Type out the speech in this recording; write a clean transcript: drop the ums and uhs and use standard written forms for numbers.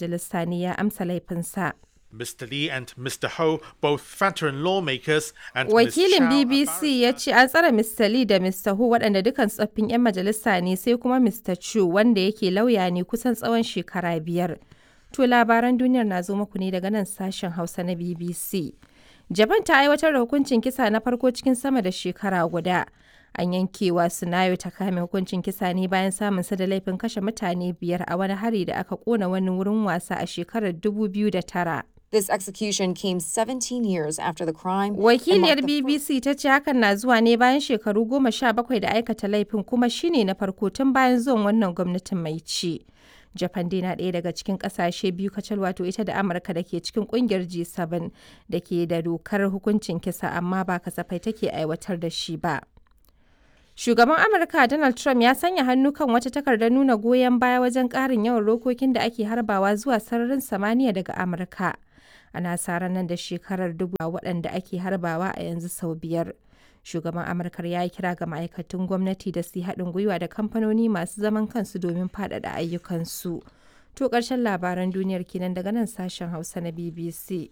Majalisa ne ya amsa laifinsa. Mr. Lee and Mr. Ho, both veteran lawmakers, and Ms. Wakilin Chow, a BBC ya ce an tsare Mr. Lee da Mr. Ho waɗanda dukan tsoffin 'yan majalisa ne sai kuma Mr. Chu wanda yake lauya ne kusan tsawon shekara 5. To labaran duniyar na zo muku ne daga nan sashen Hausa na BBC. Japan ta aiwatar da hukuncin kisa na farko cikin sama da shekara guda. An yankewa Sunayo ta kame hukuncin kisa ne bayan samun sa da laifin kashe mutane 5 a wani hari da aka kona wani wurin wasa a shekarar 2009. This execution came 17 years after the crime and Wakiliyar marked the BBC ta ce hakan na zuwa ne bayan shekaru 17 da aikata laifin kuma shine na farko tun bayan zuwan wannan gwamnatin mai ci. Japan dai na ɗaya daga cikin ƙasashe biyu kacal, wato ita da Amurka, da ke cikin ƙungiyar G7 da ke da dokar hukuncin kisa, amma ba kasafai take aiwatar da shi ba. Shugaban Amurka Donald Trump ya sanya hannu kan wata takardar nuna goyon baya wajen ƙarin yawan rokokin da ake harbawa zuwa sararin samaniya daga Amurka. Ana sa ran nan da shekarar dubu waɗanda ake harbawa a yanzu sau 5. Shugaban Amurkar ya yi kira ga ma'aikatan gwamnati da su yi haɗin gwiwa da kamfanoni masu zaman kansu domin faɗaɗa ayyukansu. To ƙarshen labaran duniyar kenan daga nan sashen Hausa na BBC.